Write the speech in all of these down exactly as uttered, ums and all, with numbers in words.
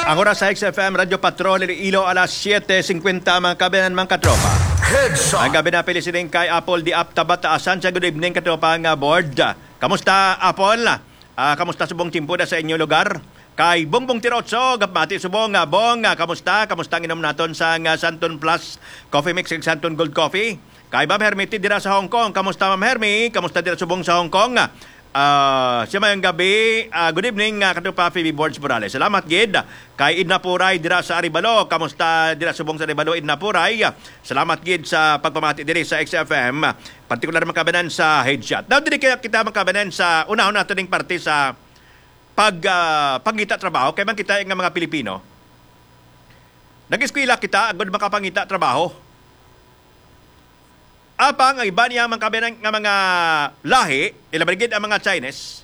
Ang oras sa X F M Radyo Patrol Iloilo, alas siete cincuenta, mga kabayan, mga katropa. Headshot. Ang gabi na pili sining kay Apple di Apta Bataasan. Sa good evening, katropa nga board. Kamusta, Apple? Ah, kamusta subong timpo da sa inyo lugar? Kay Bongbong Tirotso, gapmati subong, ah, Bong, ah, kamusta? Kamusta ang inom naton sa nga Santon Plus Coffee Mix ug Santon Gold Coffee? Kay Ma'am Hermie dira sa Hong Kong. Kamusta, Ma'am Hermie? Kamusta dira subong sa Hong Kong? Ah, siya mayong gabi. Ah, good evening, ah, katropa Phoebe Borge Morales. Salamat gid. Kay Edna Puray dira sa Arevalo. Kamusta dira subong sa Arevalo, Edna Puray? Salamat gid sa pagpamati diri sa X F M. Partikular, mga kabayan, sa headshot. Now, diri kaya kita, mga kabayan, sa unahon nato ning parte sa pag, ah, pangita trabaho. Kay man kita nga mga Pilipino, nag-eskwela kita agud makapangita trabaho. Apang ang iban niya, mga kabayan, nga mga lahi, ilabi na gid ang mga Chinese.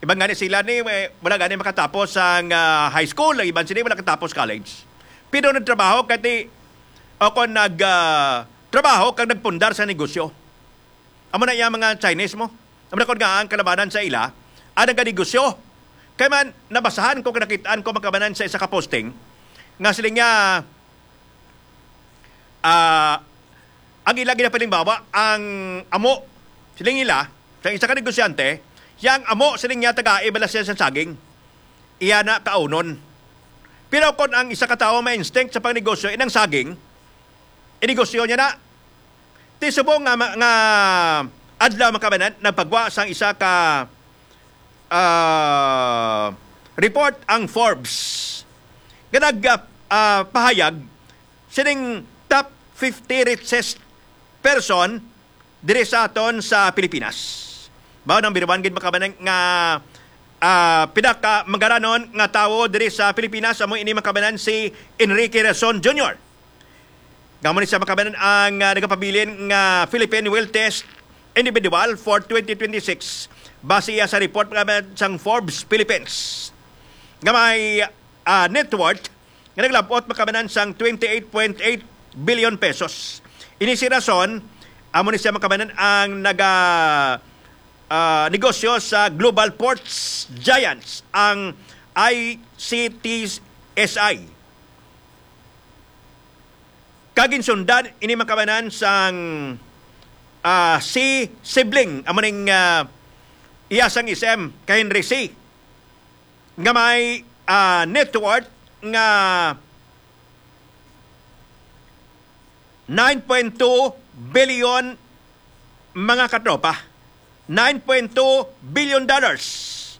Iban gani sila ni, eh, wala gani makatapos ang, ah, high school, ang iban sila wala katapos college. Pero nagtrabaho kay ti, o kon nag, ah, trabaho kag nagpundar sa negosyo. Amo na iya mga Chinese mo. Amo na kon nga ang kalabanan sa ila, ang naganegosyo. Kay man, nabasahan ko, kag nakitaan ko, mga kabayan, sa isa ka posting, nga siling niya, ah, ang ila ginapalimbawa, ang amo, siling nila, sa isa ka negosyante, yang amo, siling niya, tagai bala siya sa saging. Iya na kaunon. Pero kung ang isa ka tawo may instinct sa pangnegosyo, inang saging, inegosyo niya na. Ti subong nga, ma-, nga adlaw, mga kabayan, nagpagwa sang isa ka, ah, report ang Forbes nga nag, ah, ah, pahayag sining top fifty richest person diri sa aton sa Pilipinas. Mao nang biruan gid, mga kabayan, nga, ah, pinaka magaranon nga tawo diri sa Pilipinas, amo ini, mga kabayan, si Enrique Razon Junior. Nga amo ni siya, mga kabayan, ang, ah, nagapabilin nga Philippine Wealthiest Individual for twenty twenty-six, base iya sa report, mga kabayan, sang Forbes Philippines, nga may, ah, net worth nga naglabot, mga kabayan, sang twenty-eight point eight billion pesos. Ini si Razon, amo ni siya, mga kabayan, ang naga, ah, negosyo sa Global Ports Giants, ang I C T S I. Kag ginsundan ini, mga kabayan, sang, ah, si sibling, amo ning, ah, iya sang S M, kay Henry Sy, nga may, ah, net worth nga nine point two billion, mga katropa. Nine point two billion dollars.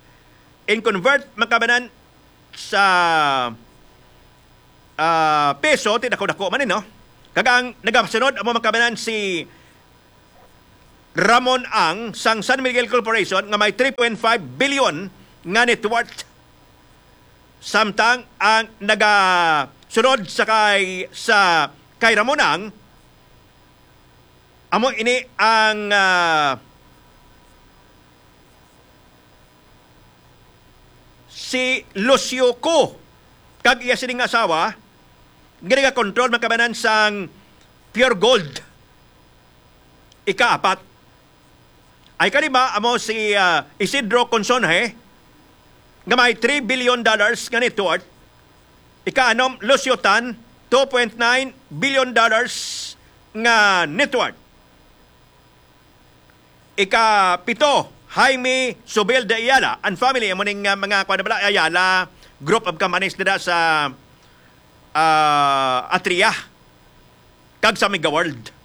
In convert, mga kabayan, sa, ah, peso, ti dako-dako man ni, no? Kag ang nagasunod amo, mga kabayan, si Ramon Ang sang San Miguel Corporation nga may three point five billion nga net worth. Samtang ang nagasunod sa kay, sa kay Ramon Ang, amo ini ang, ah, si Lucio Co kag iya sining asawa nga nagakontrol, mga kabayan, sang Pure Gold. Ikaapat. Ay kalima amo si, ah, Isidro Consonje nga may three billion dollars nga net worth. Ikaanom, Lucio Tan, two point nine billion dollars nga net worth. Ikapito, Jaime Subel de Ayala and family, amo ning, ah, mga, kuwan na bala, Ayala Group of Companies dira sa, ah, Atria kag sa Mega World.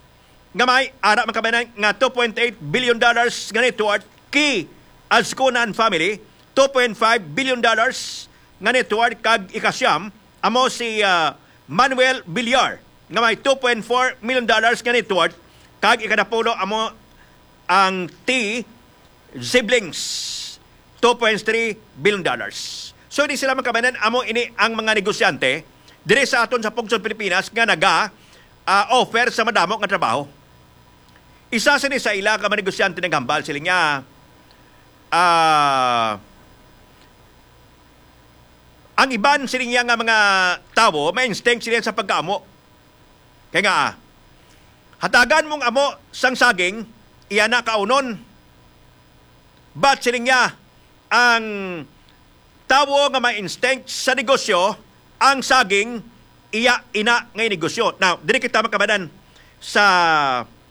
Nga may ara, mga kabayan, nga two point eight billion dollars nga net worth, Key Azcuna and family, two point five billion dollars nga net worth, kag ikasiyam amo si, ah, Manuel Villar nga may two point four million dollars nga net worth, kag ikanapulo amo ang T siblings, two point three billion dollars. So, di sila, mga kabayan, amo ini ang mga negosyante diri sa aton sa Pungsod Pilipinas nga naga, ah, offer sa madamo nga trabaho. Isa sini sa ila ka mga negosyante naghambal, siling niya, ah, ang iban, siling niya, nga mga tawo may instinct sila sa pagkaamo. Kay nga, ah, hatagan mong amo sang saging, iya na kaunon. But siling niya, ang tawo nga may instinct sa negosyo, ang saging, iya ina nga negosyo. Now, diri kita makabanan sa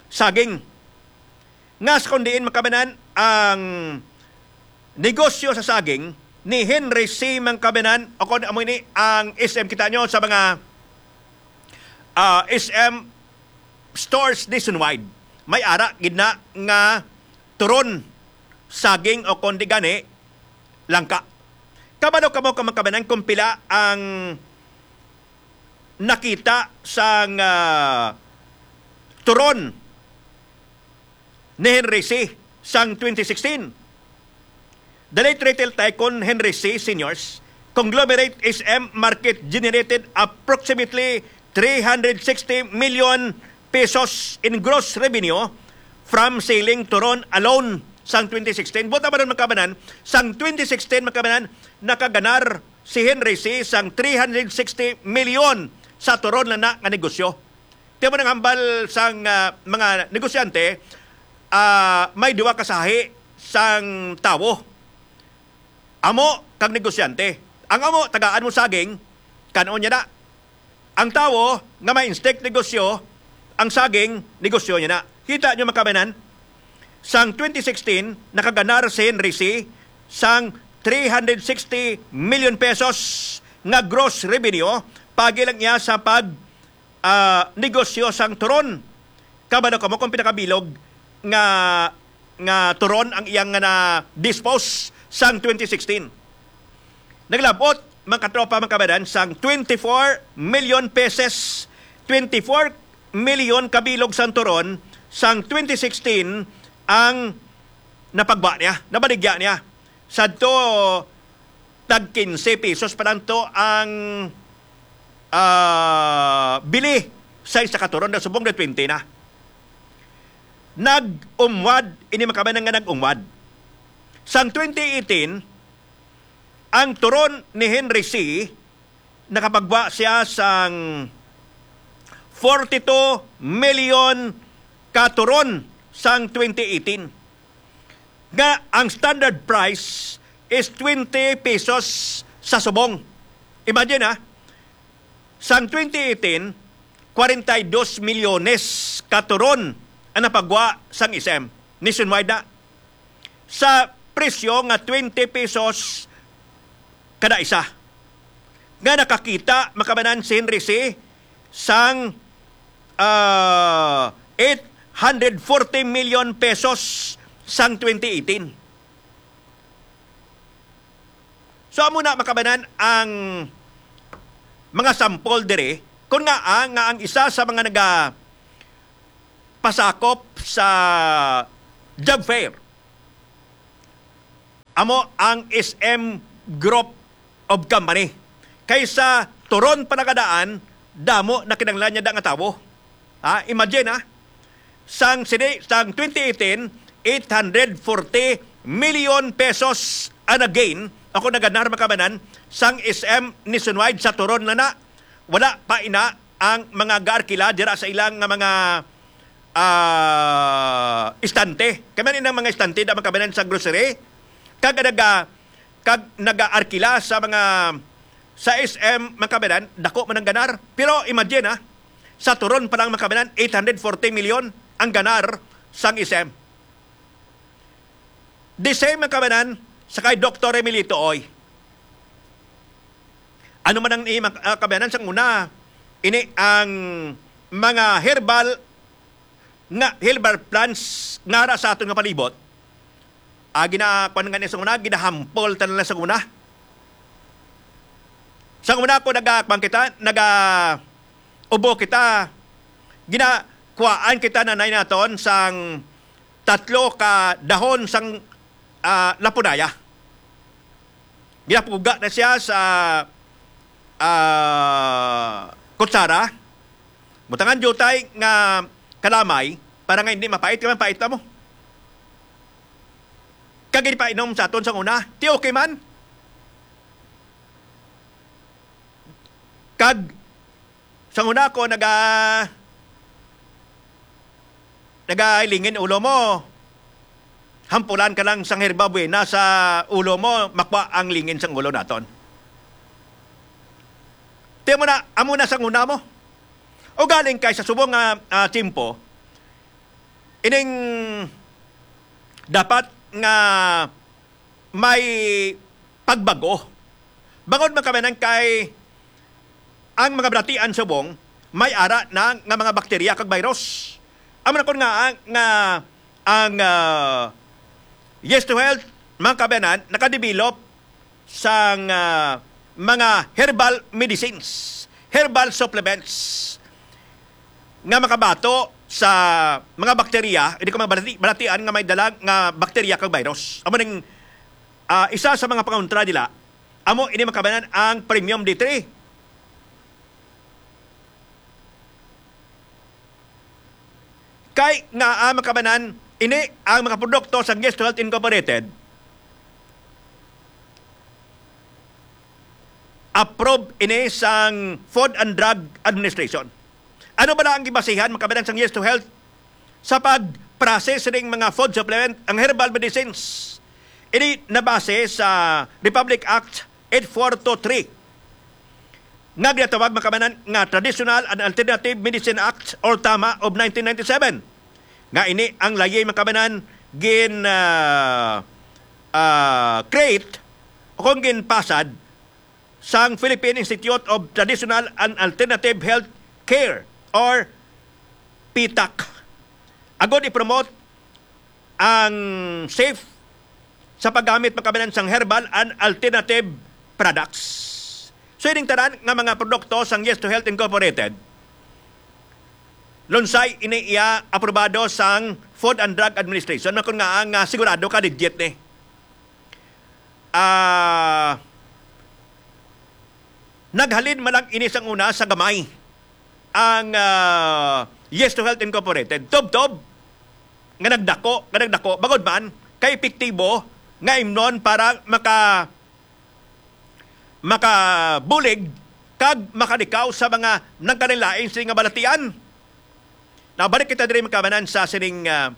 saging. Nga sa kung diin makabanan ang negosyo sa saging ni Henry C. Mangkabanan, o kung amo ini ang S M, kita nyo sa mga, ah, S M stores nationwide. May ara gid na nga turon, saging, o kung di gani, langka. Kabalo kamo ka makabanan kung pila ang nakita sang, ah, turon ni Henry C. sang twenty sixteen. The late retail tycoon Henry C. Senior's conglomerate S M market generated approximately three hundred sixty million pesos in gross revenue from selling turon alone sang twenty sixteen. Buta ba nun, makabanan? Sang twenty sixteen, makabanan, nakaganar si Henry C. sang three hundred sixty million sa turon na, na nga negosyo. Tiyan mo nang hambal sang, ah, mga negosyante, ah, may duwa ka sahi sang tawo. Amo kag negosyante. Ang amo, tagaan mo saging, kanon niya na. Ang tawo nga may instinct negosyo, ang saging, negosyo niya na. Kita nyo, makabanan, sang twenty sixteen, nakaganar si Henry C. sang three hundred sixty million pesos nga gross revenue, pagi lang iya sa pag, ah, negosyo sang turon. Kabalo kamo kung pinakabilog nga, nga turon ang iyang nga na-dispose sang twenty sixteen. Naglabot, mga katropa, mga kabanan, sang twenty-four million pesos, twenty-four million kabilog sang turon sang twenty sixteen ang napagwa niya, nabaligya niya. Sadto, tag quince pesos pa lang to ang, ah, bili sa isa ka turon, na subong na twenty na. Nag-umwad, ini makabanan nga nag-umwad. Sang twenty eighteen, ang turon ni Henry C, nakapagwa siya sang forty-two million ka turon sang twenty eighteen, nga ang standard price is twenty pesos sa subong. Imagine, ha, sang twenty eighteen, kwarenta y dos milyones ka turon ang napagwa sang S M. Nationwide na. Sa presyo nga twenty pesos kada isa. Nga nakakita, makabanan, si Henry C. sang, ah, eight hundred forty million pesos sang twenty eighteen. So, amo na, makabanan, ang mga sample diri, kung nga, ah, nga ang isa sa mga nagapasakop sa job fair, amo ang S M Group of Company. Kaysa turon pa nakadaan, damo na kinahanglan niya da nga tawo. Ha? Imagine, ha? Sang sini, sang twenty eighteen, eight hundred forty million pesos ang nag-gain, ako naganar, makabanan, sang S M nationwide sa turon na na. Wala pa ina ang mga gaarkila dira sa ilang nga mga, ah, istante. Kami inang mga istante da, makabanan, sa grocery. Kag naga-, kag nagaarkila sa mga, sa S M, makabanan, dako man ang ganar. Pero imagine, ha, sa turon pa lang, makabanan, eight hundred forty million ang ganar sang S M. The same, makabanan, sa kay Doktor Emilito Oy. Ano man ang i-, mak-, ah, kabayanan sang una, ini ang mga herbal nga, herbal plants nga ara sa aton nga palibot. Ah, gina-, kuwan nga ni sang una, ginahampol ta na lang sang una. Sang una ko naga-, kuwan kita, naga-, ubo kita, ginakuhaan kita, nanay, naton sang tatlo ka dahon sang, ah, lapunaya. Ginapuga na siya sa, ah, kutsara. Butangan diutay nga kalamay para nga hindi mapait, kay mapait na mo. Kag ginpainom sa aton sang una, ti okay man. Kag sang una ko naga-, nagalingin ulo mo. Hampulan ka lang sang herba buena sa ulo mo, makwa ang lingin sang ulo naton. Tiyan mo na, amo na sa una mo. O galing kay sa subong nga, ah, tiyempo, ining dapat nga may pagbago. Bangod man kami nang kay ang mga balatian subong, may ara na nga mga bakterya kag virus. Amo na kon nga, nga ang, ah, Yes to Health, mga kabayanan, nakadevelop sang, ah, mga herbal medicines, herbal supplements nga makabato sa mga bakterya, hindi ko mga balati-, balatian nga may dala nga bakterya kag virus. Amo ning, ah, isa sa mga pangontra nila, amo ini, mga kabayanan, ang premium D three. Kay nga, ah, mga kabayanan, ini ang mga produkto sang Yes to Health Incorporated, approve ini sang Food and Drug Administration. Ano bala ang gibasihan, mga kabayanan, sang Yes to Health sa pag-process ning mga food supplement, ang herbal medicines? Ini nabase sa Republic Act eight four two three, nga ginatawag, mga kabayanan, nga Traditional and Alternative Medicine Act or TAMA of nineteen ninety-seven, nga ini ang layi, mga kabayanan, gin, ah, ah, create o kung ginpasad sang Philippine Institute of Traditional and Alternative Health Care or PTAC, agod i-promote ang safe sa paggamit, mga kabayanan, sang herbal and alternative products. So, ining tanan nga mga produkto sang Yes to Health Incorporated, lunsay ini iya aprobado sang Food and Drug Administration, na kun nga ang, ah, sigurado ka legit ni. Ah, naghalin man lang ini sang una sa gamay ang, ah, Yes to Health Incorporated. Tubtob nga nagdako, nga nagdako, bangod man kay epektibo nga imnon para maka-, makabulig kag makalikaw sa mga nagkalainlain sini nga balatian. Now, balik kita diri, mga kabayanan, sa sining, ah,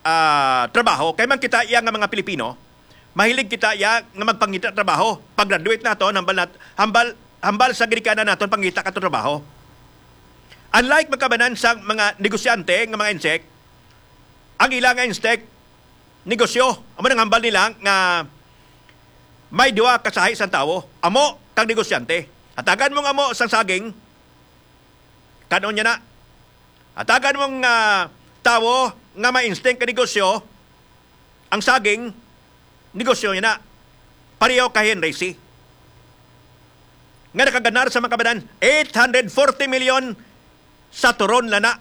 ah, trabaho. Kay man kita iya nga mga Pilipino, mahilig kita iya nga magpangita trabaho. Pag-graduate naton, hambal nat-, hambal, hambal sa ginikanan naton pangita kato trabaho. Unlike, mga kabayanan, sa mga negosyante nga mga insek, ang ila nga instek negosyo, amo nang hambal nila nga may duha ka sahi sang tawo, amo kag negosyante. Hatagan mo nga amo sang saging, kan-on niya na. Hatagan mo nga tawo nga may instinct ka negosyo, ang saging, negosyo niya na. Pareho kay Henry C, nga nakaganar sa, mga kabayanan, eight hundred forty million sa turon lang na.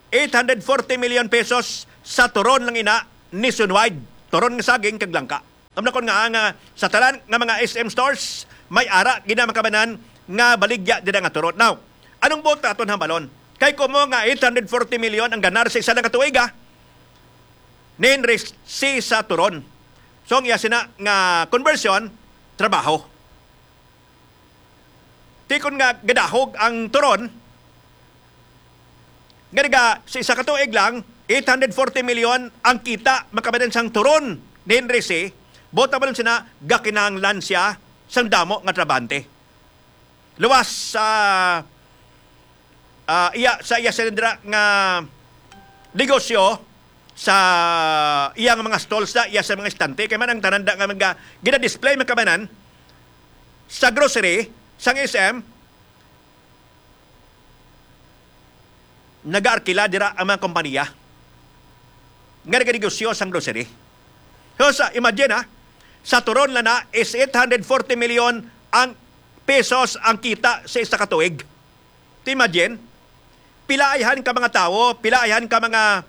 Eight hundred forty million pesos sa turon lang ina, nationwide. Turon nga saging kag langka. Amo na kon nga ang, ah, sa tanan nga mga S M stores, may ara gid na, mga kabayanan, nga baligya dira nga turon. Now, anong buot naton hambalon? Kay kumo nga eight hundred forty million ang ganar sa isa lang ka tuig, ah, ni Henry C sa turon. So, ang iya sina nga conversion, trabaho. Ti kon nga gadahog ang turon, nga naga sa isa ka tuig lang, eight hundred forty million ang kita, mga kabayanan, sang turon ni Henry C. Buot hambalon sina, gakinahanglan siya sang damo nga trabahante. Luwas sa, ah, iya, sa iya sila dira nga negosyo, sa iya nga mga stalls na, iya sa mga estante, kay man ang tanan da nga mga gina-display, mga kabayanan, sa grocery, sang S M, nagaarkila dira ang mga kompanya nga naganegosyo sang grocery. So, sa, imagine, ha, sa turon lang na is eight hundred forty million ang pesos ang kita sa isa ka tuig. Ti imagine, pila ayhan ka mga tawo, pila ayhan ka mga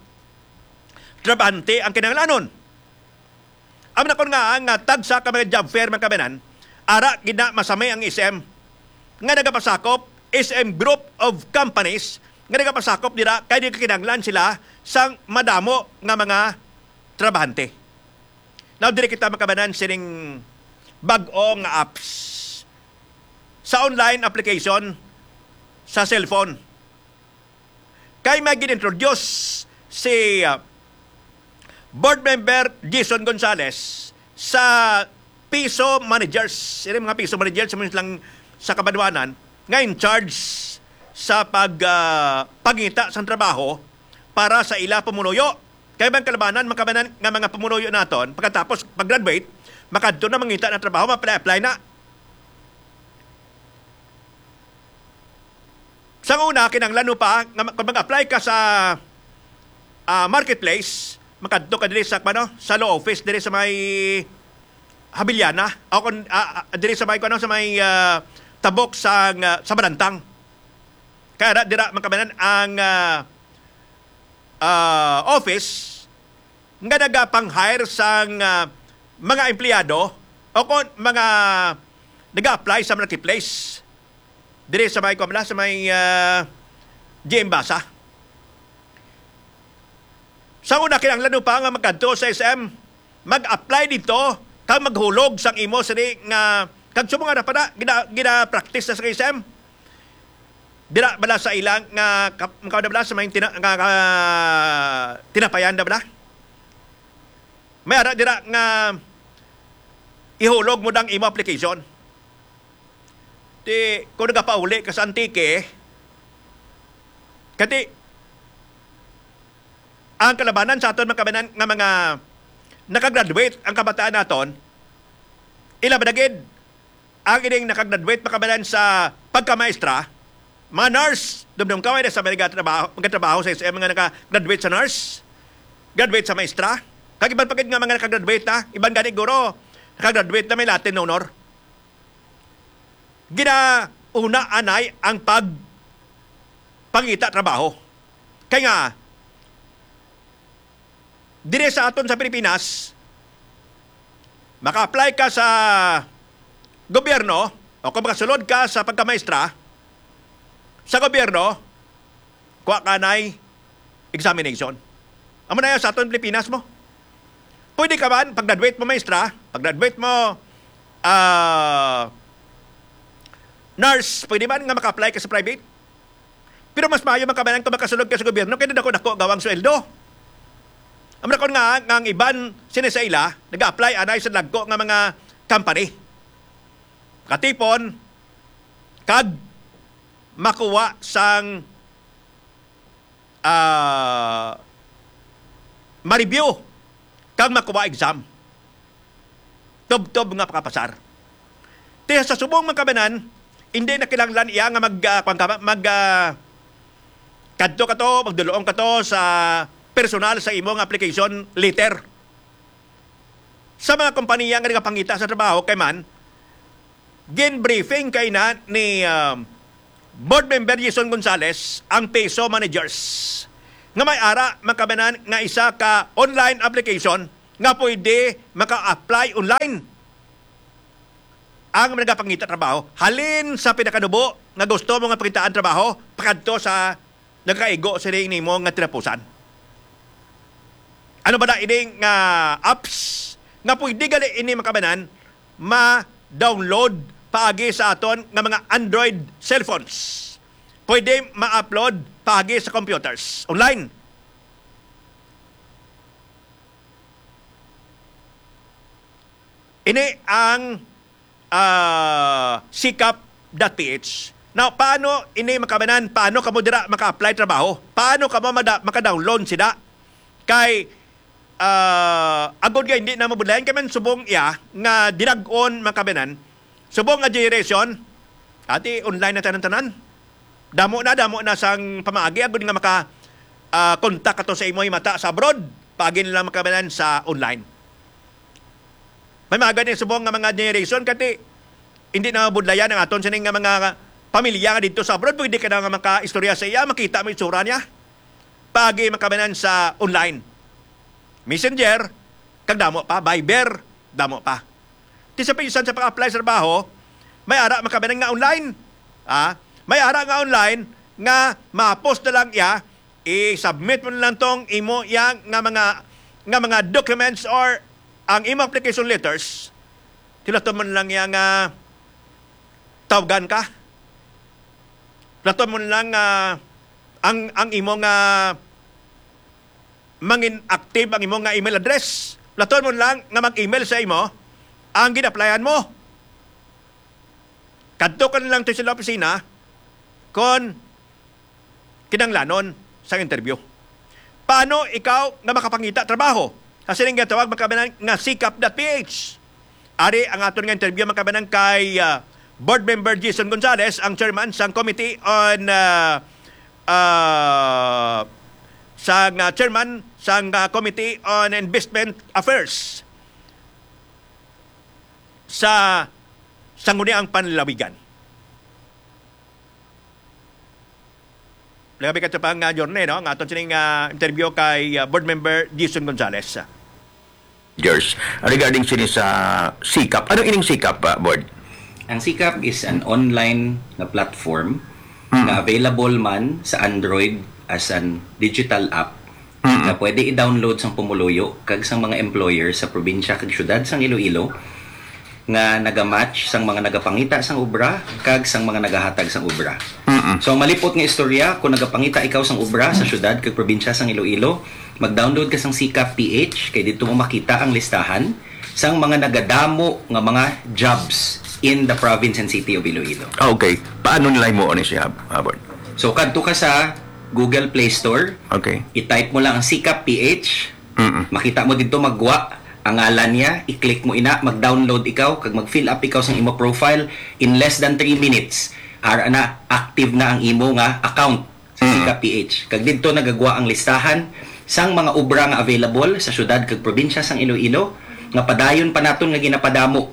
trabahante ang kinahanglanon. Amo na kon nga ang, ah, tagsa ka mga job fair, mga kabayanan, ara gid na masami ang S M nga nagapasakop, S M Group of Companies nga nagapasakop dira kay nagkinahanglan sila sang madamo nga mga trabahante. Now, diri kita, mga kabayanan, sining bag-o nga apps sa online application sa cellphone. Kay may gin-introduce si, ah, Board Member Jason Gonzales sa Piso Managers. Ini mga Piso Managers, sa mga lang sa kabanwanan, nga in charge sa pag, ah, pangita sang trabaho para sa ila pumuloyo. Kay bang kalabanan, mga kababayan, nga mga pumuloyo naton, pagkatapos pag-graduate, makadto na mangita na trabaho, ma-apply-apply na. Sa una, kinahanglan mo pa nga ma-, kung mag-apply ka sa, ah, marketplace, makadto ka diri sa, ano, sa law office diri sa may Habiliana, o kung, ah, ah, diri sa may, ano, sa may, ah, tabok sa, ah, sa Balantang. Kay ara dira, mga kababayan, ang, ah, ah, office nga nagapang-hire sang, ah, mga empleyado o kon mga nag-a-apply sa marketplace. Diri sa may, kuwan, sa may, ah, G M Basa. Sa una, kinahanglan mo pa nga magkadto sa S M, mag-apply dito, kag maghulog sang imo sini nga, kag subong ara pa na, gina-, gina-practice na sa S M. Dira bala sa ilang nga kap-, makaw na bala sa may tina-, nga, nga tinapayan na bala? May ara dira nga ihulog mo dang imo application. Ti, kung nagapauli ka sa Antique, kati, ang kalabanan sa aton, mga kababayan, nga mga nakagraduate ang kabataan naton, ila ba na gid ang ining nakagraduate, mga kababayan, sa pagkamaestra, mga nurse, dumdum ka, may sa mga nagatrabaho, magatrabaho sa S M nga nakagraduate sa nurse, graduate sa maestra, kag iban pa gid nga mga nakagraduate na, iban gani guro, nakagraduate na may Latin honor. Ginauna anay ang pag-, pangita trabaho. Kay nga, dire sa aton sa Pilipinas, maka-apply ka sa gobyerno o kung makasulod ka sa pagkamaestra sa gobyerno, kuha ka anay examination. Amo na yan sa aton Pilipinas mo. Pwede ka man, pag-graduate mo maestra, pag-graduate mo, ah, nurse, pwede man nga maka-apply ka sa private. Pero mas maayo man, kababayan, kung makasulod ka sa gobyerno, kay dako-dako gaw ang sweldo. Amo na kon nga, nga ang iban sini sa ila, nag-apply anay sa dagko nga mga company. Katipon, kag makuha sang, ah, ma-review, kag makuha exam. Tubtob nga pakapasar. Ti sa subong, mga kababayan, hindi na kinahanglan iya nga mag, ah, kwan ka ba, mag, ah, kadto ka to, magduluong ka to sa personal sa imo nga application letter. Sa mga kompanya nga nagapangita sa trabaho, kay man, gin-briefing kay na ni, um, Board Member Jason Gonzales ang PESO managers nga may ara, mga kababayan, nga isa ka online application nga pwede maka-apply online ang nagapangita trabaho. Halin sa pinakanubo nga gusto mo nga pangitaan trabaho, pakadto sa nagakaigo sini nimo nga tinapusan. Ano ba na ini nga apps nga pwede gali ini, mga kababayan, ma-download paagi sa aton nga mga Android cellphones? Pwede ma-upload paagi sa computers, online. Ini ang, ah, sikap dot P H. Now, paano ini, mga kababayan? Paano kamo dira maka-apply trabaho? Paano kamo mada-, maka-download sila? Kay, ah, agod nga hindi na mabudlayan, kay man subong iya nga dilag-on, mga kababayan, subong nga generation, ati online na tanan-tanan. Damo na, damo na sang pamaagi, agod nga maka, ah, contact ato sa imo himata sa abroad, paagi na lang, mga kababayan, sa online. May mga gani subong nga mga generation, kati hindi na mabudlayan ang aton sining nga mga pamilya nga dito sa abroad. Pwede ka na nga makaistorya sa iya, makita mo itsura niya. Paagi, mga kababayan, sa online. Messenger, kag damo pa, Viber, damo pa. Ti sa pinsan sa pag-apply sa trabaho, may ara, mga kababayan, nga online. Ah, may ara nga online nga ma-post na lang iya, i-submit mo na lang tong imo iya nga mga, nga mga documents or ang imo application letters. Ti laton mo na lang iya nga tawgan ka. Laton mo na lang nga ang, ang imo nga mangin active ang imo nga email address. Laton mo lang nga mag-email sa imo ang gin-applyan mo. Kadto ka na lang to sa opisina, kon kinahanglanon sang interview. Paano ikaw nga makapangita trabaho sa sining ginatawag, mga kababayan, nga sikap dot P H? Ari ang aton nga interview, mga kababayan, kay, ah, Board Member Jason Gonzales, ang chairman sang Committee on, ah, ah, sang, ah, chairman sang, ah, Committee on Investment Affairs sa Sangguniang Panlalawigan. Labi ka pa nga, Yorne, no? Ang aton sining, ah, interview kay, ah, Board Member Jason Gonzales. George, regarding sini sa sikap. Ano ining sikap, ah, Board? Ang sikap is an online nga platform Mm. nga available man sa Android as an digital app Mm. nga pwede i-download sang pumuluyo kag sang mga employer sa probinsya kag syudad sang Iloilo nga nagamatch sang mga nagapangita sang obra kag sang mga nagahatag sang obra. Mm-mm. So, ang malipot nga istorya, kung nagapangita ikaw sang obra sa syudad kag probinsya sang Iloilo, mag-download ka sang Sikap P H, kay didto mo makita ang listahan sang mga nagadamo nga mga jobs in the province and city of Iloilo. Ah, okay. Paano nila himuon ni siya, Abon? So, kadto ka sa Google Play Store, Okay. i-type mo lang ang Sikap P H, Mm-mm. makita mo didto, maggwa ang ngalan niya, i-click mo ina, mag-download ikaw, kag mag-fill up ikaw sang imo profile. In less than three minutes, ara na, active na ang imo nga account sa Mm. Sikap P H. Kag didto nagagwa ang listahan sang mga obra nga available sa syudad kag probinsya sang Iloilo, nga padayon pa naton nga ginapadamo.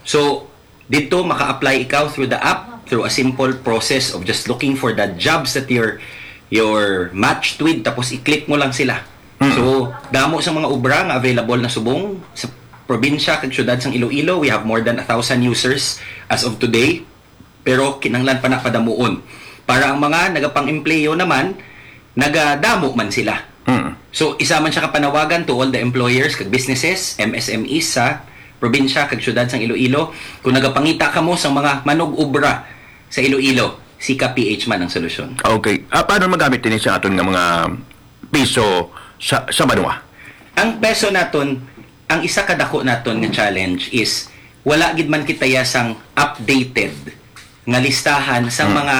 So, didto maka-apply ikaw through the app, through a simple process of just looking for the jobs that you're, you're matched with, tapos i-click mo lang sila. Mm. So, damo sang mga obra nga available na subong sa probinsya kag syudad sang Iloilo. We have more than a thousand users as of today. Pero kinahanglan pa na padamuon para ang mga nagapang-empleyo naman, nagadamo man sila. Mm. So, isa man siya ka panawagan to all the employers kag businesses, M S M Es sa probinsya kag syudad sang Iloilo. Kung nagapangita kamo sang mga manug-obra sa Iloilo, Sikap P H man ang solusyon. Okay. Ah, paano magamit ini sa aton nga mga piso sa, sa banwa? Ang peso naton, ang isa ka dako naton nga challenge is wala gid man kita ya sang updated nga listahan sa Hmm. mga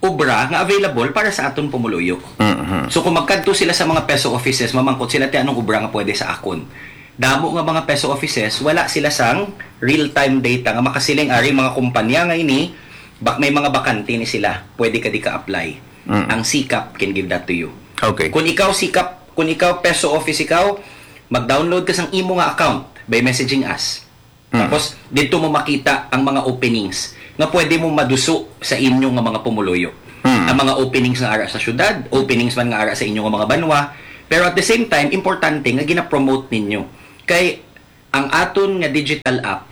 obra nga available para sa aton pumuluyo. Mhm. So, kung magkadto sila sa mga peso offices, mamangkot sila, "Ti anong obra nga pwede sa akon?" Damo nga mga peso offices, wala sila sang real-time data nga makasiling, "Ari, mga kumpanya nga ini, bak-, may mga bakante ni sila, pwede ka di ka-apply." Mm. Ang Sikap can give that to you. Okay. Kung ikaw Sikap, kung ikaw peso office ikaw, mag-download ka sang imo nga account by messaging us. Mm. Tapos, dito mo makita ang mga openings nga pwede mo maduso sa inyo nga mga pumuluyo. Mm. Ang mga openings nga ara sa syudad, openings man nga ara sa inyo nga mga banwa. Pero at the same time, importante nga gina-promote ninyo. Kay ang aton nga digital app,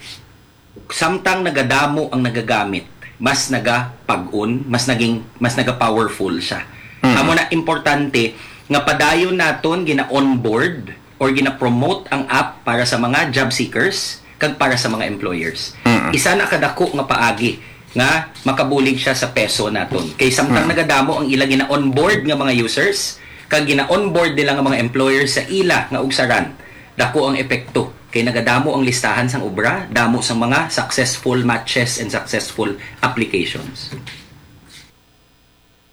samtang nagadamo ang nagagamit, mas nagapag-on, mas naging, mas naga-powerful siya. Mm. Amo na importante nga padayon naton gina-onboard or gina-promote ang app para sa mga job seekers kag para sa mga employers. Mm. Isa na kadako nga paagi nga makabulig siya sa peso naton. Kay samtang Mm. nagadamo ang ila gina-onboard nga mga users, kag gina-onboard nila nga mga employers sa ila nga ugsaran, dako ang epekto. Kay nagadamo ang listahan sang obra, damo sang mga successful matches and successful applications.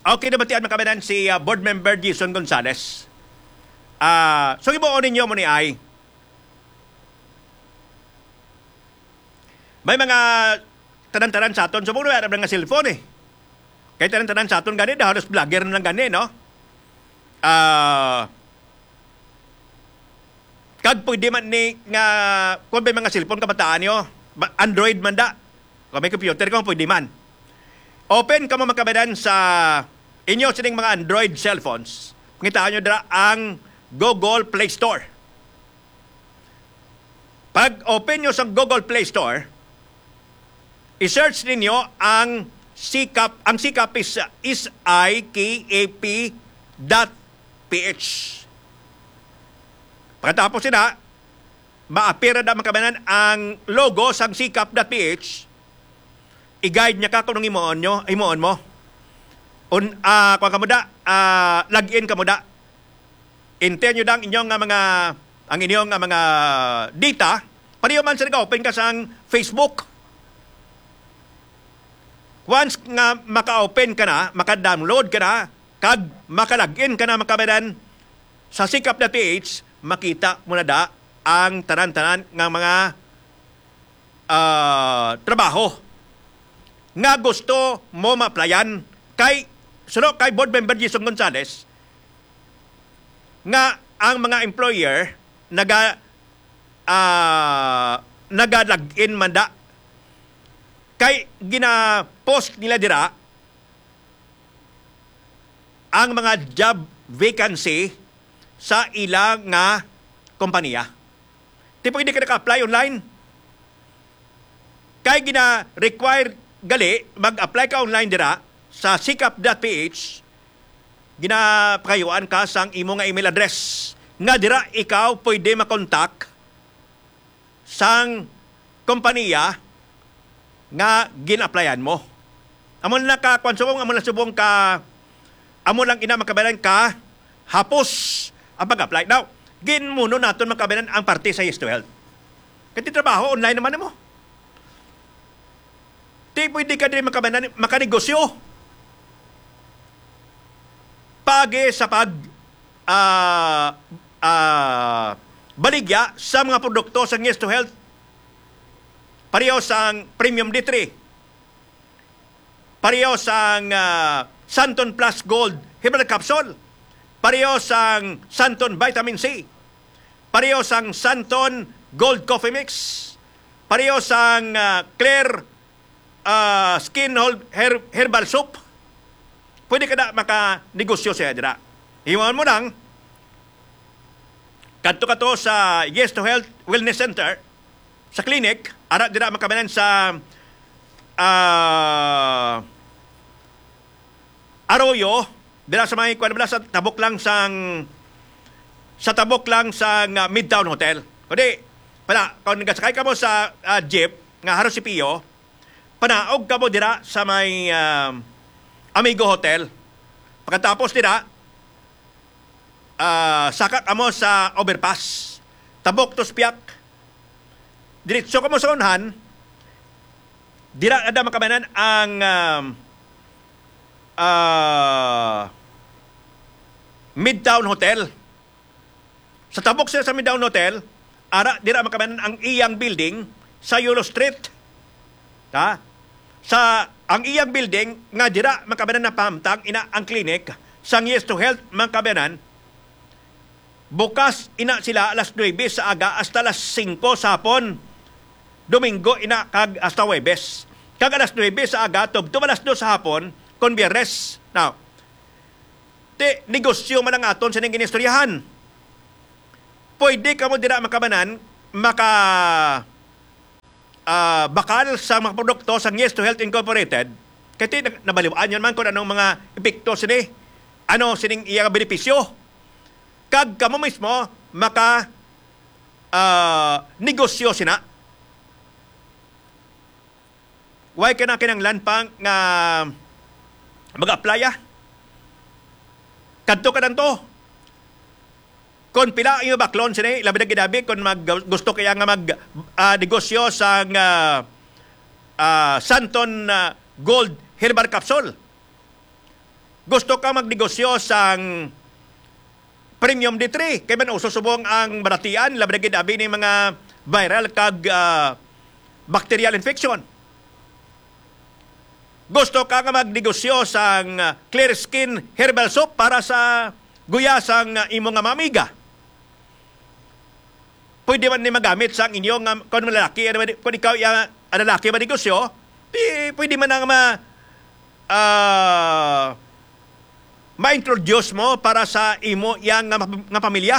Okay, nabatian, mga kababayan, si, ah, Board Member Jason Gonzales. Ah, so, himuon ninyo mo ni ay. May mga tanan-tanan sa aton. Subong na, wala nga cellphone eh. Kay tanan-tanan sa aton gani, halos vlogger na lang gani, no? Ah, kag pwede man ni nga, kung may mga cellphone kabataan nyo, ba-, Android man da. Kung may computer ka, pwede man. Open kamo, mga kababayan, sa inyo sining mga Android cellphones. Pangitaan nyo dira ang Google Play Store. Pag open nyo sa Google Play Store, i-search ninyo ang Sikap. Ang Sikap is S I K A P dot P H. Pagkatapos sina, ma-appear na, mga kababayan, ang logo sang Sikap dot P H. I-guide niya ka kung anong himuon nyo, himuon mo. Un-, ah, kuwan ka mo da, ah, log in ka mo da. Enter nyo da ang inyong nga mga, ang inyong nga mga data. Pareho man sa nag-open ka sang Facebook. Once nga maka-open ka na, maka-download ka na, kag maka-login ka na, mga kabayan, sa sikap dot P H, makita mo na da ang tanan-tanan nga mga, ah, trabaho nga gusto mo ma-applyan. Kay, suno kay Board Member Jason Gonzales, nga ang mga employer naga, ah, naga-log in man da. Kay gina-post nila dira ang mga job vacancy sa ila nga kompanya. Ti pwede ka naka-apply online. Kay gina-require gali, mag-apply ka online dira sa sikap dot P H, ginapakayuan ka sang imo nga email address nga dira ikaw pwede makontak sang kompanya nga gin-applyan mo. Amo na ka, kwan, subong, amo na subong ka, amo lang ina, mga kabayan, ka hapos ang pag-apply. Now, ginmuno naton, mga kabayan, ang parte sa Yes to Health. Kay ti trabaho, online naman mo. Ti pwede ka diri, mga kabayan, makanegosyo. Paagi sa pag, ah, ah, baligya sa mga produkto sa Yes to Health. Pareho sang Premium D three. Pareho sang, ah, Santon Plus Gold Herbal Capsule. Pareho sang Santon Vitamin C. Pareho sang Santon Gold Coffee Mix. Pareho sang, ah, Clear, ah, Skin Hol-, Her-, Herbal Soap. Pwede ka na makanegosyo siya dira. Himuon mo lang, kadto ka to sa Yes to Health Wellness Center, sa clinic, ara dira, mga kabayan, sa, ah, Arroyo, dira sa may, kuwan, wala, sa tabok lang sang, sa tabok lang sang, ah, Midtown Hotel. Kundi, pala, kung nagasakay ka mo sa, ah, jeep nga Harusipio, panaog ka mo dira sa may, ah, Amigo Hotel. Pagkatapos dira, ah, saka ka mo sa overpass. Tabok to sa pihak. Diretso ka mo sa unhan. Dira na da, mga kabayan, ang, um, ah, Midtown Hotel. Sa tabok siya sa Midtown Hotel, ara, dira, mga kabayan, ang iyang building sa Yulo Street. Ha? Sa, ang iyang building nga dira, mga kabayan, napahamtang ina ang clinic sang Yes to Health, mga kabayan. Bukas ina sila alas nuebe sa aga hasta alas singko sa hapon. Domingo ina kag hasta Huwebes. Kag alas nuebe sa aga tubtob alas dos sa hapon kon Biyernes. Now, ti negosyo man ang aton sining ginistoryahan. Pwede kamo dira, mga kabayan, maka, ah, bakal sa mga produkto sa Yes to Health Incorporated. Kay ti nag-, nabaliwaan yun man kung anong mga epekto sini, ano sining iya benepisyo. Kag kamo mismo maka, ah, negosyo sina. Why ka na kinahanglan pa nga mag-apply, ah? Kadto ka lang to. Kon pila ang imo baklon sini, labi na gid abi kon mag-, gusto kaya nga mag, ah, negosyo sang, ah, ah, Santon, ah, Gold Herbal Capsule. Gusto ka magnegosyo sang Premium D three, kay man uso subong ang balatian, labi na gid abi ni mga viral kag, ah, bacterial infection. Gusto ka nga magnegosyo sang, ah, Clear Skin Herbal Soap para sa guya sang, ah, imo nga mga amiga? Pwede man ni magamit sang inyo nga, kung lalaki, ano, kung ikaw iya, ang lalaki manegosyo, di, pwede man ang ma-, ah, ma-introduce mo para sa imo iya nga, nga pamilya.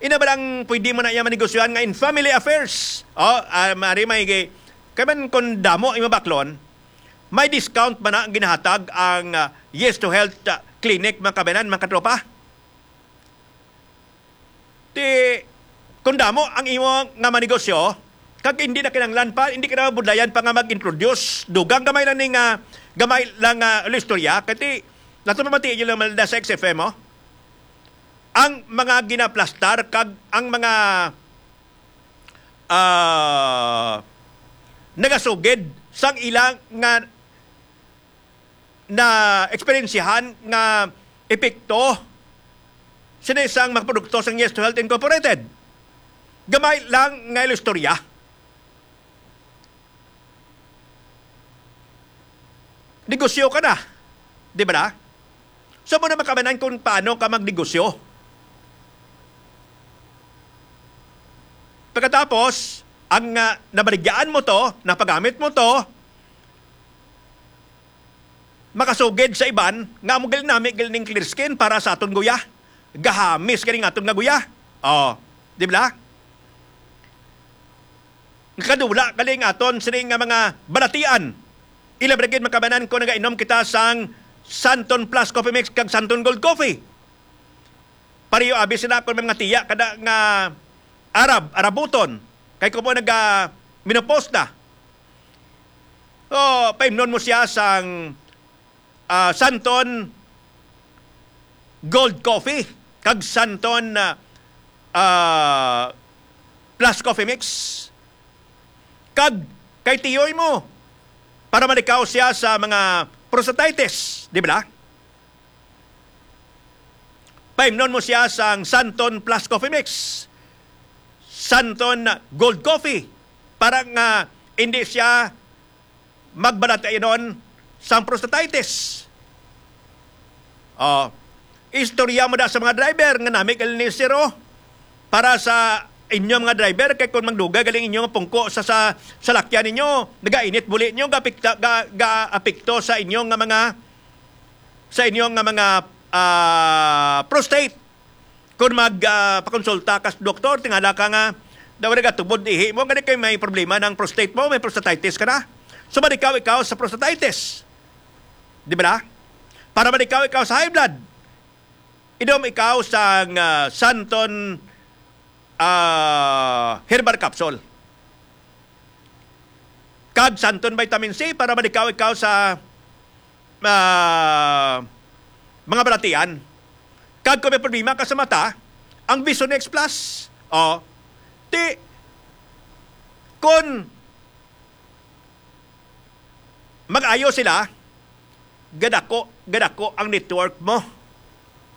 Ina ba lang pwede mo na iya manegosyohan nga in family affairs? Oh, ah, mari may gi-, kay man kung damo imo baklon, may discount ba na ang ginahatag ang, ah, Yes to Health, ah, Clinic, mga kabayan, mga katropa? Ti, kung damo ang imo nga manegosyo, kag hindi na kinahanglan pa, hindi ka na budlayan pa nga mag-introduce, dugang gamay lang ni nga, gamay lang nga istorya, kay ti, nato pamati inyo lang malda sa X F M, oh. Ang mga ginaplastar kag ang mga, ah, nagasugid sang ila nga na eksperyensyahan nga epekto sini sang mga produkto sang Yes to Health Incorporated. Gamay lang nga istorya. Negosyo ka na, di ba na? So, mo na makamanan kung paano ka magnegosyo. Pagkatapos, ang, ah, nabaligyaan mo to, napagamit mo to, makasugid sa iban nga amo gali nami gali ning Clear Skin para sa aton guya. Gahamis gali nga aton nga guya. Oh, di ba? Nga kadula gali nga aton sini nga mga balatian. Ilabi na gid, mga kabanan, kung nagainom kita sang Santon Plus Coffee Mix kag Santon Gold Coffee. Pareho abi sila kung may mga tiya kada nga Arab, Arabuton. Kay kung mo naga menopause na. O, paimnon mo siya sang, ah, Santon Gold Coffee kag Santon, ah, ah, Plus Coffee Mix. Kag kay tiyoy mo para malikaw siya sa mga prostatitis, di ba? Paimnon mo siya sang Santon Plus Coffee Mix, Santon Gold Coffee, para nga hindi siya magbalatianon sang prostatitis. Oh, istorya mo da sa mga driver nga nami gali ni sir, oh, para sa inyo mga driver, kay kung magdugay gali ang inyo nga pungko sa, sa salakyan ninyo, nagainit buli ninyo, gaapekta-, ga-, gaapekto sa inyo nga mga, sa inyo nga mga, ah, prostate. Kung mag, ah, pakonsulta ka sa doktor, tingala ka nga daw nagatubod ihi mo, gani kay may problema ng prostate mo, may prostatitis ka na. So, malikaw ikaw sa prostatitis. Di ba na? Para malikaw ikaw sa high blood, inom ikaw sang, ah, Santon, ah, herbal capsule kag Santon vitamin C para malikaw ikaw sa, ah, mga balatian. Kag kung may problema ka sa mata, ang Vision X Plus, oh, ti, kung mag-ayo sila, gadako, gadako ang network mo.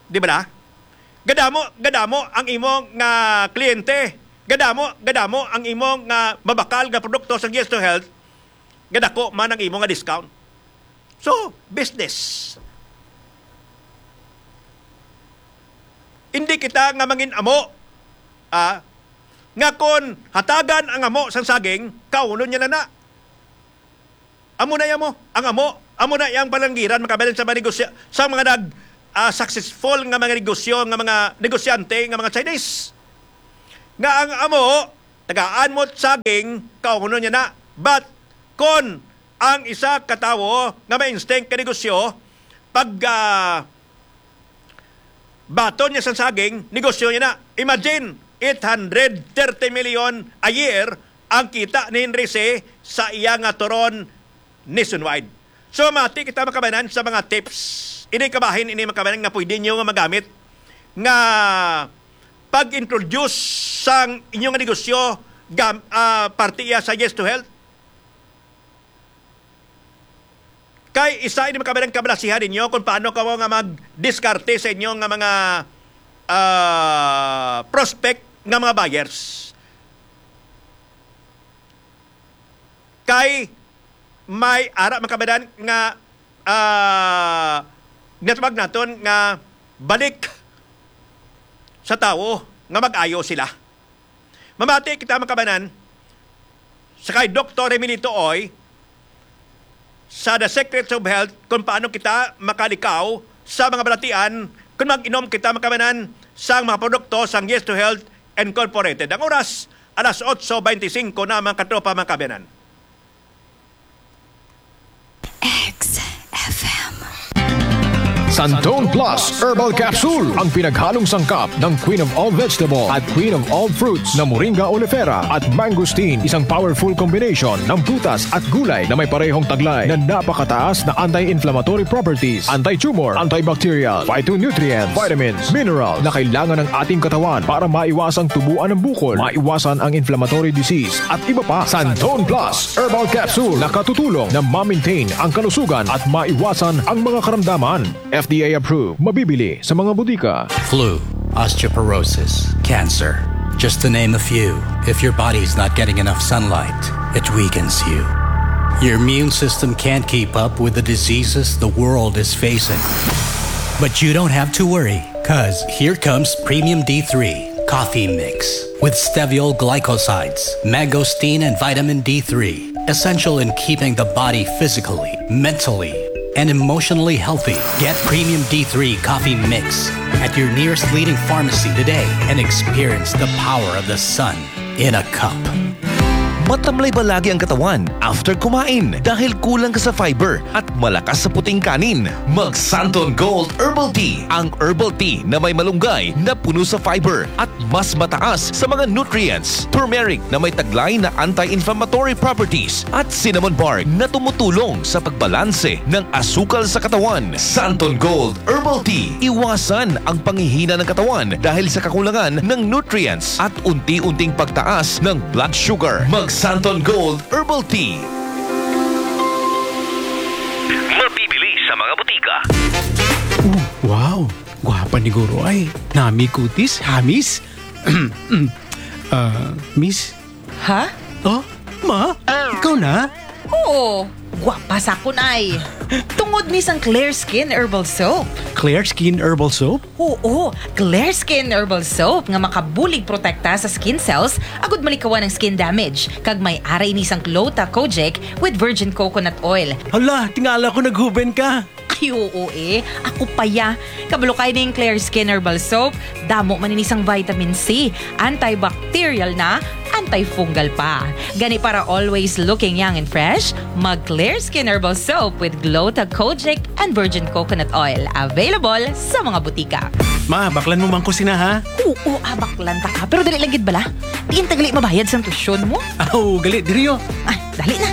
Di ba na? Gadamo, gadamo ang imo nga kliyente. Gadamo, gadamo ang imo nga mabakal nga produkto sa Yes to Health. Gadako man ang imo nga discount. So, business. Hindi kita nga mangin-amo, ah, nga kon hatagan ang amo sang saging, kaunon niya na na. Amo na iya mo, ang amo, amo na iyang palanggiran, mga kabayan, sa mga negosyo, sa mga nag, ah, successful nga mga negosyo, nga mga negosyante, nga mga Chinese. Nga ang amo, tagaan mo saging, kaunon niya na. But, kon ang isa ka tawo nga may instinct ka negosyo, pag, ah, baton niya sa saging, negosyo niya na. Imagine, eight hundred thirty million a year ang kita ni Henry C sa iya nga turon nationwide. So, mati kita, mga kabayanan, sa mga tips. Ini kabahin, ini, mga kabayanan, nga pwede nyo nga magamit nga pag-introduce sang inyong negosyo, gam-, ah, parte iya sa Yes to Health. Kay isa ini, mga kababayan, kabalasihan ninyo kung paano kamo nga magdiskarte sa inyo nga mga, ah, prospect nga mga buyers. Kay may ara, mga kababayan, nga, ah, ginatawag naton nga balik sa tawo nga mag-ayo sila. Mamati kita, mga kababayan, sa kay Doktor Remilito Oy sa The Secrets of Health kung paano kita makalikaw sa mga balatian kung mag-inom kita, mga kababayan, sa mga produkto sang Yes to Health Incorporated. Ang oras, alas otso beintisinko na, mga katropa, mga kababayan. X F M. Santone Plus Herbal Capsule, ang pinaghalong sangkap ng Queen of All Vegetable at Queen of All Fruits na Moringa oleifera at Mangosteen, isang powerful combination ng prutas at gulay na may parehong taglay na napakataas na anti-inflammatory properties, anti-tumor, antibacterial, phytonutrients, vitamins, minerals na kailangan ng ating katawan para maiwasang tubuan ng bukol, maiwasan ang inflammatory disease, at iba pa. Santone Plus Herbal Capsule nakatutulong na ma-maintain ang kalusugan at maiwasan ang mga karamdaman. F D A approved. Mabibili sa mga botika. Flu, osteoporosis, cancer. Just to name a few. If your body's not getting enough sunlight, it weakens you. Your immune system can't keep up with the diseases the world is facing. But you don't have to worry, because here comes Premium D three Coffee Mix with steviol glycosides, mangosteen, and vitamin D three, essential in keeping the body physically, mentally, and emotionally healthy. Get Premium D three Coffee Mix at your nearest leading pharmacy today and experience the power of the sun in a cup. Matamlay ba lagi ang katawan after kumain dahil kulang ka sa fiber at malakas sa puting kanin? Mag Santon Gold Herbal Tea, ang herbal tea na may malunggay na puno sa fiber at mas mataas sa mga nutrients, turmeric na may taglay na anti-inflammatory properties, at cinnamon bark na tumutulong sa pagbalanse ng asukal sa katawan. Santon Gold Herbal Tea. Iwasan ang panghihina ng katawan dahil sa kakulangan ng nutrients at unti-unting pagtaas ng blood sugar. Mag Santon Gold Herbal Tea. Mabibili sa mga botika. Wow! Gwapa ni Guro ay. Nami kutis, hamis. Ah, miss? Ha? Oh, ma? Ikaw na? Oo, gwapa sa akon ay. Tungod ni sang Clear Skin Herbal Soap. Clear Skin Herbal Soap? Oo, Clear Skin Herbal Soap nga makabulig protekta sa skin cells agud malikawan ang skin damage. Kag may ara ini sang Gluta-Kojic with virgin coconut oil. Hala, tingala ko naghuben ka. Ay, oo eh. Ako pa ya. Kabalo kay ning Clear Skin Herbal Soap. Damo man ini sang vitamin C, antibacterial na, antifungal pa. Gani para always looking young and fresh, mag Clear Skin Herbal Soap with Gluta-Kojic and virgin coconut oil. Available sa mga butika. Ma, baklan mo man ko sina ha? Oo, abaklan ta ka. Pero dali lang gid bala. Diin ta gali mabayad sang tuition mo? Aw, gali diri oh. Ay, dali na.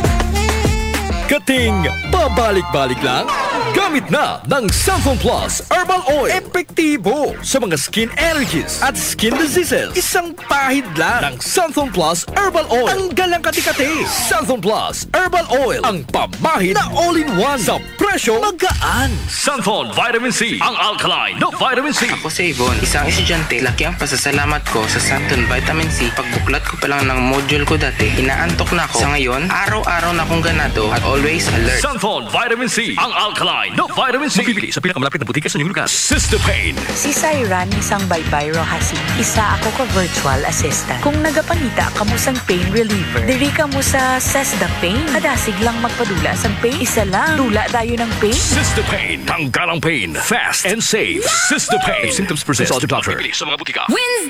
Kating pabalik-balik lang? Gamit na ng Santon Plus Herbal Oil. Epektibo sa mga skin allergies at skin diseases. Isang pahid lang ng Santon Plus Herbal Oil. Tanggal ang kati-kati. Santon Plus Herbal Oil. Ang pamahid na all-in-one sa presyo magaan. Santon Vitamin C, ang alkaline na vitamin C. Ako si Yvonne, isang estudyante. Laki ang pasasalamat ko sa Santon Vitamin C. Pagbuklat ko pa lang ng module ko dati, inaantok na ako. Sa ngayon, araw-araw na akong ganado at always alert. Santon Vitamin C, ang alkaline na vitamin C. Mabibili sa pinakamalapit na butika sa inyong lugar. Sister Pain. Si Sayran isang baybay Rojasin. Isa ako ka virtual assistant. Kung nagapangita kamo sang pain reliever, diri kamo sa Sesda Pain. Kadasig lang magpadula sang pain. Isa lang. Dula dayon ang pain. Sister Pain. Tanggal ang pain. Fast and safe. Sister Pain. If symptoms persist, consult your doctor. Mabibili sa mga butika. Wins